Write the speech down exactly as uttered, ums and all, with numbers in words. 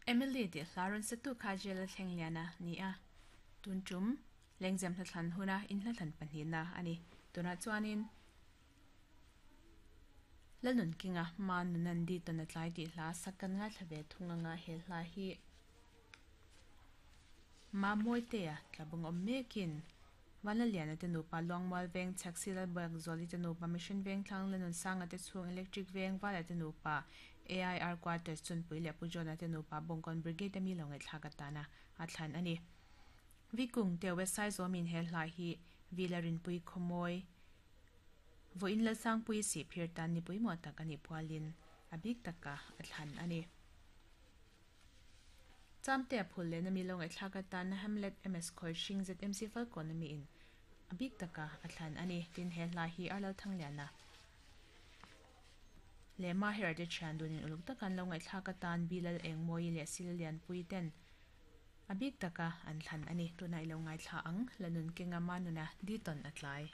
Emily tih hla rawn satu kha jail a thleng lian a ni a, tun tum lengzem hla thlan huna in hla thlan pahnihna a ni. Tunah chuanin Lalnunkinga Ma Nunan Di Tawn A Tlai tih hla sak kan ngaithla ve thung anga he hla hi Ma Mawitea tlabung awm mekin Vanlaliana te nupa Luangmual Veng Chhaksi Lalbuak Zuali te nupa Mission Veng Thlang Lanunsanga te chhung Electric Veng Vala te nupa A I R Quarters Chunpui leh Pu Johna te nupa Bawngkawn Brigade ami lo ngaihthlak atana a thlan a ni. Vikung te West Saizawmin he hla hi Vila Rinpui Khawmawi Vawiin Lalsangpui Sihphir tan ni pawimawh tak a nih pualin a bik taka a thlan a ni. Chamte a phul lehna mi lo ngaihthlak atana Hamlet M S Khawihring Z M C Falkawn ami in a bik taka a thlan a ni. Tin he hla hi Arlal Thangliana leh Mahera te thian dunin uluk taka an lo ngaihthlak atan Bilal Engmawi leh Sila Lianpui ten a bik taka an thlan a ni. Tunah i lo ngaithla ang, Lanunkenga Manuna Di Tawn A Tlai.